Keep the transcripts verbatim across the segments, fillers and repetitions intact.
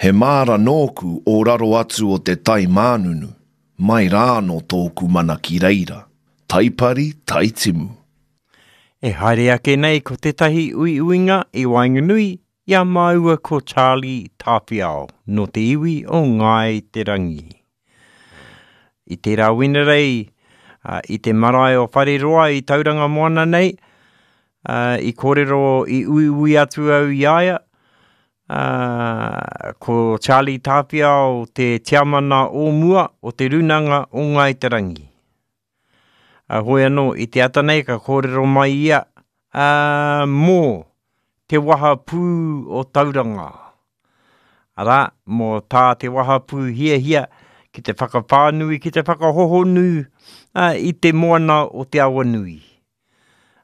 He māra nōku o raro atu o te tai mānunu, mai rā anō tōku mana ki reira, taipari, taitimu. E haere ake nei ko tētahi uiuinga i waenganui i a māua ko Charlie Tāwhiao nō te iwi o Ngāi Te Rangi. I tērā Wenerei, i te marae o Whareroa i Tauranga Moana nei, i kōrero i uiui atu au i a ia, ko Charlie Tāwhiao te tiamana o mua o te Rūnanga o Ngāi Te Rangi. A hoi anō, i te ata nei ka kōrero mai ia uh, mō te wahapū o Tauranga. Arā, mō tā te wahapū hiahia ki te whakawhānui, ki te whakahohonu uh, i te moana o Te Awanui.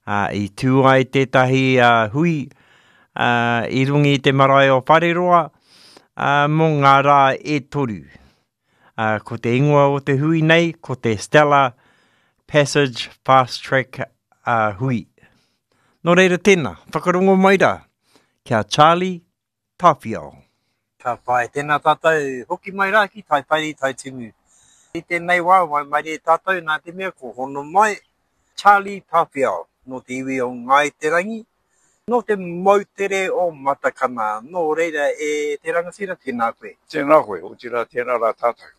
Uh, I tū ai tētahi uh, hui uh, i runga i te marae o Whareroa uh, mō ngā rā e toru. Uh, ko te ingoa o te hui nei, ko te Stella Passage Fast Track uh, hui. Nō reira tēnā, whakarongo mai rā, kia Charlie Tāwhiao. Ka pai, tēnā tātou, hoki mai rā ki Taipari, Taitimu. I tēnei wā, waimarie tātou nā te mea ko hono mai Charlie Tāwhiao, nō te iwi o Ngāi Te Rangi, nō te moutere o Matakana. Nō reira e te rangatira, tēnā koe. Tēnā koe, otirā tēnā rā tātou.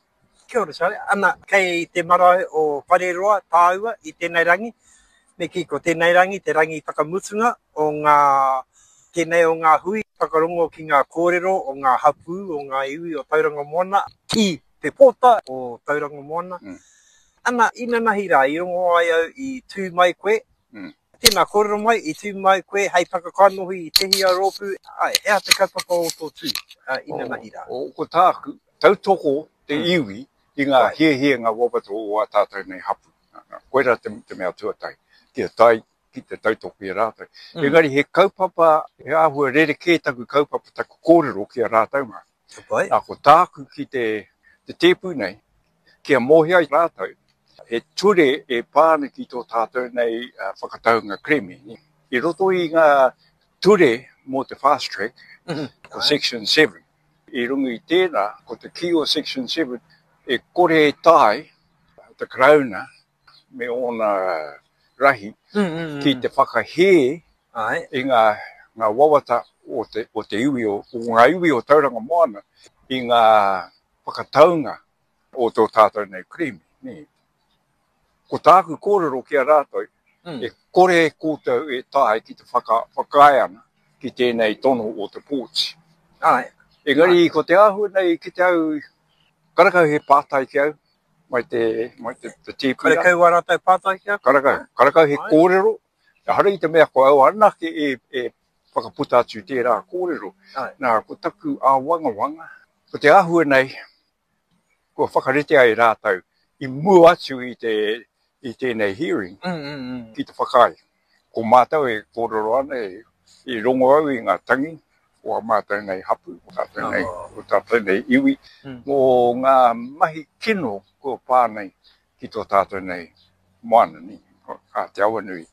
Kia ora, Charlie. Ana, kei te marae o Whareroa tāua i tēnei rangi. Me kī, ko tēnei rangi, te rangi whakamutunga o ngā, tēnei o ngā hui, whakarongo ki ngā kōrero o ngā hapū, o ngā iwi o Tauranga Moana, ki te pōta o Tauranga Moana. Mm. Ana, inanahi rā, i rongo ai au i tū mai koe. Mm. Tēnā, kōrero mai, i tū mai koe hei whakakanohi i tehi a rōpū. Ai, he aha te kaupapa o tō tū, uh, inanahi rā? O, o, ko tāku, tautoko te Mm. iwi i ngā Right. hiahia ngā wawata o ā tātou nei hapū. Koirā te, te mea tuatahi, kia tae ki te tautoko i a rātou. Mm. Engari he kaupapa, he āhua rerekē taku kaupapa, taku kōrero ki a rātou mā. Ka pai. Nā, ko tāku ki te, te tēpu nei, kia mōhio ai rātou, he ture e pā ana ki tō tātou nei uh, whakataunga kerēme. I roto i ngā ture mō te fast track, Mm -hmm. ko Section seven. I runga i tēnā, ko te kī o Section seven, e kore e tae te Karauna me ōna rahi mm, mm, ki te whakahē Ai. i ngā, ngā wawata o te, o te iwi, o, o ngā iwi o Tauranga Moana, i ngā whakataunga o tō tātou nei kerēme. Nē. Ko tāku kōrero ki a rātou, Mm. e kore koutou e tae ki te whaka, whakaae ana ki tēnei tono o te pōti. Ai. Engari, ko te āhua nei ki te au, karakau he pātai ki au, mai te, mai te, te tēpu rā. Karakau wā rātou pātai ki a koe? Karakau, karakau he Ai. kōrero, ehara i te mea ko au anake e, e whakaputa atu tērā kōrero. Ai. Nā, ko taku āwangawanga, ko te āhua nei, kua whakarite ai rātou i mua atu i te, i tēnei hearing Mm, mm, mm. ki te whakaae. Ko mātou e kōrero ana, e, i rongo au i ngā tangi o a mātou nei hapū, o tātou nei, Oh. o tātou nei iwi, Mm. mō ngā mahi kino kua pā nei ki tō tātou nei moana, ni, a Te Awanui.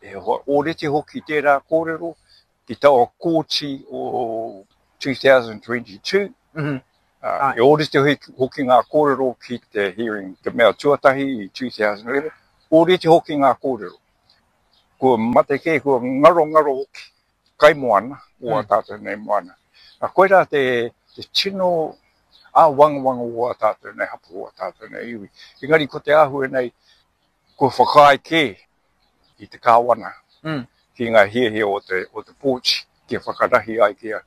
E ōrite hoki tērā kōrero ki taua kōti o twenty twenty-two. Mm -hmm. Uh, e ōrite hoki ngā kōrero ki te hearing, te mea tuatahi i two thousand eleven, ōrite hoki ngā kōrero. Kua mate kē, kua ngaro ngaro hoki kaimoana o a Mm. tātou nei moana. A koirā te, te tino āwangawanga o a tātou nei hapū, o a tātou nei iwi. Engari ko te āhua nei, kua whakaae kē i te kāwana Mm. ki ngā hiahia o te, o te pōti, kia whakarahi ai, kia,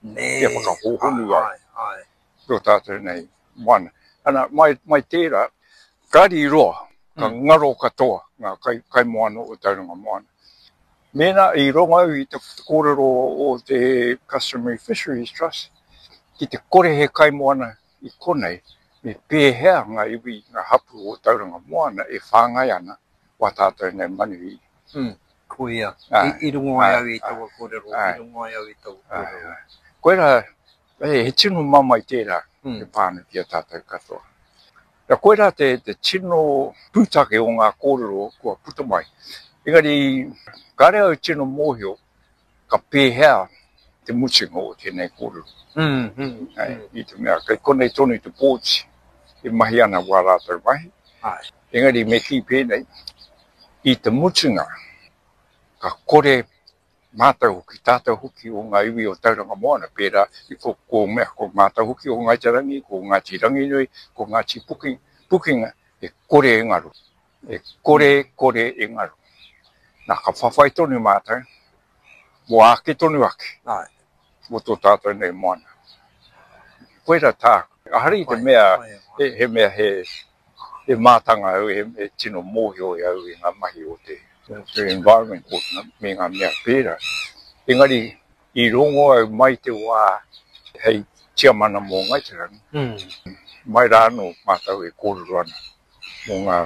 Nē. kia whakahōhonu ai. Ai, ai. Tō tātou nei moana. Ana, mai, mai tērā, kāri roa, ka Mm. ngaro katoa ngā kai, kaimoana o Tauranga Moana. Mēnā i rongo au i te kōrero o te Customary Fisheries Trust, ki te kore he kaimoana i konei, me pēhea ngā iwi, ngā hapū o Tauranga Moana e whāngai ana wā tātou nei manuhiri. Mm. Koia, Ai, i, i rongo ai ai, au i ai, taua kōrero, i ai. rongo ai au i taua Ai, kōrero. ai. Koirā, e, he tino mamae tērā Mm. e pā ana ki a tātou katoa. Nā, koirā te, te tino pūtake o ngā kōrero kua puta mai. Engari, kāre au tino mōhio ka pēhea te te mutunga o tēnei kōrero. Mm, mm, Ai, i te mea, kei konei tonu te pōti e mahi ana wā rātou mahi. Ai. Engari me kī pēnei, i te mutunga, ka kore mātou hoki, tātou hoki o ngā iwi o Tauranga Moana, pērā i ko, ko, mea, ko mātou hoki o Ngāi Te Rangi, ko Ngāti Ranginui, ko Ngāti Puki, Pukinga, e kore e ngaro. E kore, kore e ngaro. Nā, ka whawhai tonu mātou, mō ake tonu ake, Ai. mō tō tātou nei moana. Koira tāku. Ahare i te Pai, mea, pai, he, he mea he, he mātanga au, he, he tino mōhio e au i ngā mahi o te, te environment o me ngā mea pērā. Engari, i rongo au mai te wā hei tiamana mō Ngāi Te Rangi, Mm. mai rā anō mātou e kōrero ana mō ngā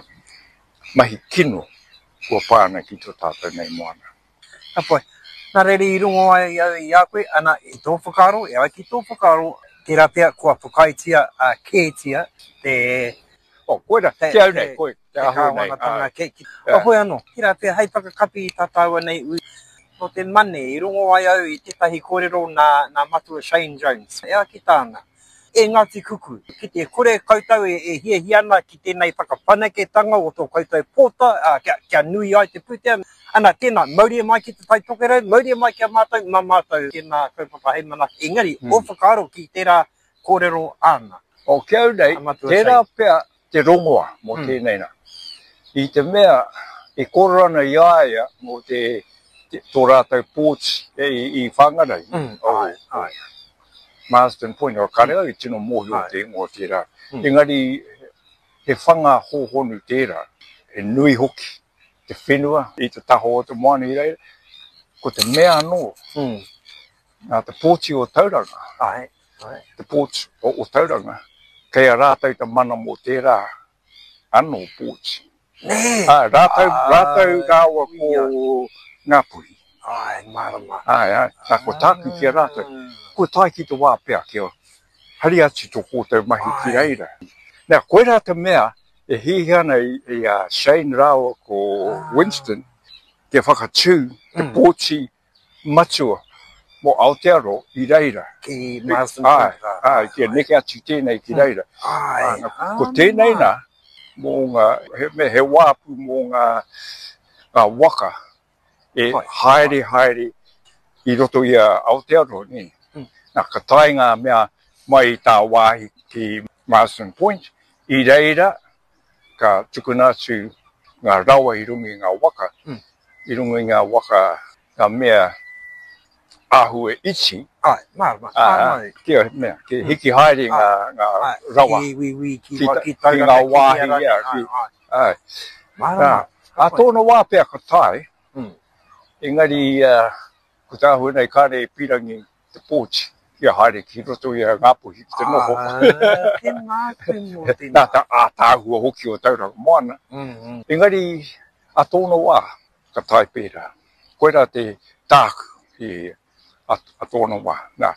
mahi kino kua pā ana ki tō tātou nei moana. Ka pai. Nā reira i rongo ai au i a koe, ana, i tō whakaaro, e ai ki tō whakaaro, tērā pea kua whakaaetia uh, kētia te, O, koira, Te- te au nei, te- koe, te te āhua nei. kāwanatanga Ai, ke. Ki, Ai. o hoi anō, tērā pea hei whakakapi i tā tāua nei ui. Nō te mane, i rongo ai au i tētahi kōrero nā, nā Matua Shane Jones. E a ki tāna, e Ngāti Kuku, ki te kore koutou e, e hiahia ana ki tēnei whakawhanaketanga o tō koutou pōta, uh, kia, kia nui ai te pūtea. Ana, tēnā, mauria mai ki te Tai Tokerau, mauria mai ki a mātou, mā mātou tēnā kaupapa hei manaki. Engari, Mm. o whakaaro ki tērā kōrero āna. O ki au nei, A Matua tērā Shane. pea te rongoa mō Mm. tēnei nā. I te mea, e kōrero ana i a ia mō te, te tō rātou pōti e, i, i Whangarei. Mm, o, ai, ai. Marsden Point, o kare au i tino mōhio Ai. te ingoa tērā. Mm. Engari, he whanga hōhonu tērā, he nui hoki te whenua i te taha o te moana i reira. Ko te mea anō, Mm. nā te pōti o Tauranga, Ai, ai. te pōti o, o Tauranga, kei a rātou te mana mō tērā anō pōti. Nē! Ā, rātou, Ai, rātou rāua ko ia. Ngāpuhi. Ai, mārama. Ai, ai, nā, ko tāku ki a rātou. Ko tae ki te wā pea kia hari atu tō koutou mahi ki Ai. reira. Nā, koirā te mea e hiahia ana i, i a Shane rāua ko Winston kia whakatū te Mm. pōti matua mō Aotearoa i reira. Ki Marsden Ai, Point. rā. ai, kia neke atu tēnei ki reira. Ai, Ai, ko tēnei nā, mō ngā, he, me, he wāpu mō ngā, ngā waka e Pai. haere haere i roto i a Aotearoa, nē. Mm. Nā, ka tae ngā mea mai i tā wāhi ki Marsden Point, i reira ka tukuna atu ngā rawa i runga i ngā waka, Mm. i runga i ngā waka, ngā mea āhua iti, Ai, mārama. ā, Mārama. kia, mea, kia hiki haere ngā, ngā Ai, rawa. Ki wiwi, ki, Ki wa, ta- ki ki Tauranga, ngā ki wāhi, Hia rānei. ia, Ai, ki- ai. Ai. Mārama. Nā, ā tōna wā pea ka tae, Mm. engari uh, ko tāhua nei kāre e pirangi te pōti kia haere ki roto i a Ngāpuhi ki te noho. Ah, tēnā koe mō tēnā. Nā tā ātāhua hoki o Tauranga Moana. Mm, mm. Engari, a tōna wā, ka tae pērā. Koirā te tāku i a, a tōna wā. Nā,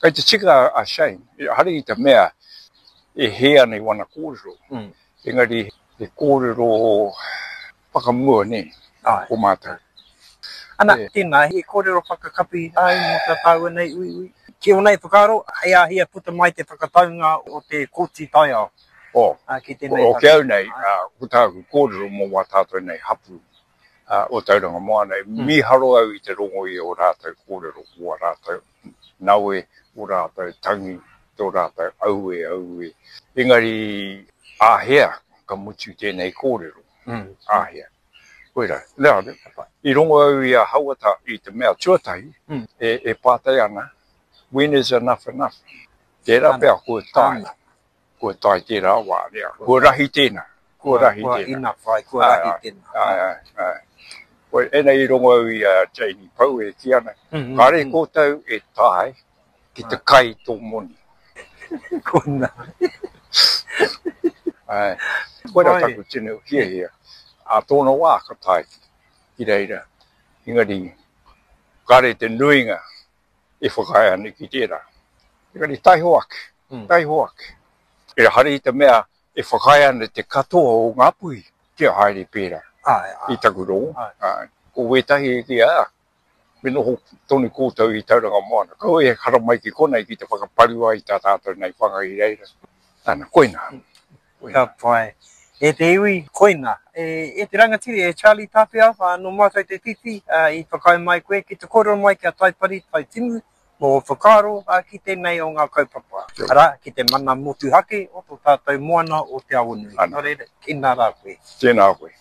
kei te tika a Shane, hare i te mea e hē ana i wana kōrero. Mm. Engari, he kōrero whakamua, nē, Ai. o mātou. Ana, E. tēnā, he kōrero whakakapi ai mō tā tāua nei uiui. Ki o nei whakaaro, hei āhia puta mai te whakataunga o te kōti taiao. O, ā, ki tēnei o take. ki au nei, ā, ko tāku kōrero mō wā tātou nei hapu uh, o Tauranga Moana, mm. mīharo au i te rongo i o rātou kōrero, o rātou nawe, o rātou tangi, tō rātou aue, aue. Engari, āhea ka mutu tēnei kōrero, Mm. āhea. Koira, nā, i rongo au i a Hauata i te mea tuatahi, Mm. e, e pātai ana, when is enough enough? Tērā Ana. pea kua tae, Ana. kua tae tērā wā, rea. Kua rahi tēnā, kua rahi Kua tēnā. enough, ai, kua Ai, rahi ai. tēnā. Ai, ai, ai. Koe, ēnei i rongo au i a Janie Pau e ki ana, Mm, mm, kāre mm. koutou e tae ki te kai tō moni. Kona. Ai. Koira Pai. taku tino hiahia. A tōna wā ka tae ki reira. Engari, kāre te nuinga e whakaae ana ki tērā. Engari, taiho ake, Mm. taiho ake. E hare i te mea e whakaae ana te katoa o Ngāpuhi kia haere pērā Ai, ai. i taku rongo. Ai. Ai. Ko wētahi e ki a, Me noho tonu koutou i Tauranga Moana. Kaua e haramai ki konei ki te whakaparu ai i tā tātou nei whanga i reira. Ana, koina. Ka pai. E te iwi, koina. E, e te rangatira, e Charlie Tāwhiao, nō mātou te whiwhi i whakaae mai koe ki te kōrero mai ki a Taipari Taitimu mō ō whakaaro ki tēnei o ngā kaupapa, arā, ki te mana motuhake o tō tātou moana o Te Awanui. Nō reira, tēnā rā koe. Tēnā koe.